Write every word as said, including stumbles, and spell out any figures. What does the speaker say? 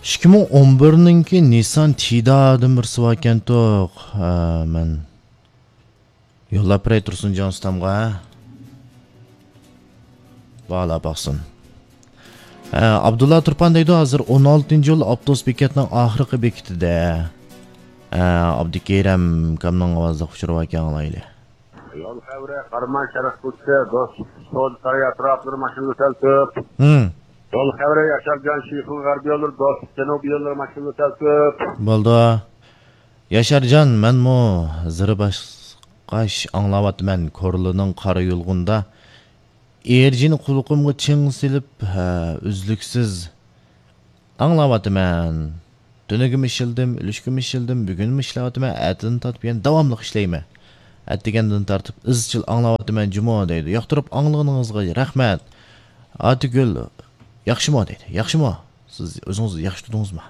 ئىككى مىڭ ئون بىرنىڭكى نىسسان تىدادىن بىرسى باركەنتۇق. ھە، مەن يوللاپ بېرەي تۇرسۇنجان ئۇستامغا. بالا باقسۇن. ھە، ئابدۇللا تۇرپان دەيدۇ، ھازىر ئون ئالتىنچى يول ئاپتوبۇس بېكەتنىڭ ئاخىرقى بېكىتىدە. ھە، ئابدۇكېرەم ئاكامنىڭ ئاۋازلىق ئۇچۇرى باركەن، ئاڭلايلى. يول خەۋىرى، قاراماي شەرق كوچىسى، دوستلۇق سودا سارىيى ئەتراپلىرى ماشىنا يۆتەلتىپ. ھىم. يول خەۋىرى، ياشار جان شىخۇل غەربىي يوللىرى، دوستلۇق جەنۇبىي يوللىرى ماشىنا يۆتەلتىپ. بولدى. ياشارجان، مەنمۇ زىرى باسقاچ ئاڭلاۋاتىمەن، كورلىنىڭ قارا يۇلغۇنىدا ئېرجىنى قۇلىقىمغا چىڭ سېلىپ، ھە، ئۈزلۈكسىز ئاڭلاۋاتىمەن. تۈنۈگۈنمۇ ئىشلىدىم، ئۈلۈشكىمۇ ئىشلىدىم، بۈگۈنمۇ ئىشلەۋاتىمەن، ئەتىدىن تارتىپ يەنە داۋاملىق ئىشلەيمەن. ئەتىگەندىن تارتىپ ئىزچىل ئاڭلاۋاتىمەن جۇمۇ دەيدۇ. ياقتۇرۇپ ئاڭلىغىنىڭىزغا رەھمەت. ئاتىگۈل، ياخشىمۇ دەيدۇ. ياخشىمۇ؟ سىز ئۆزىڭىز ياخشى تۇردىڭىزمۇ؟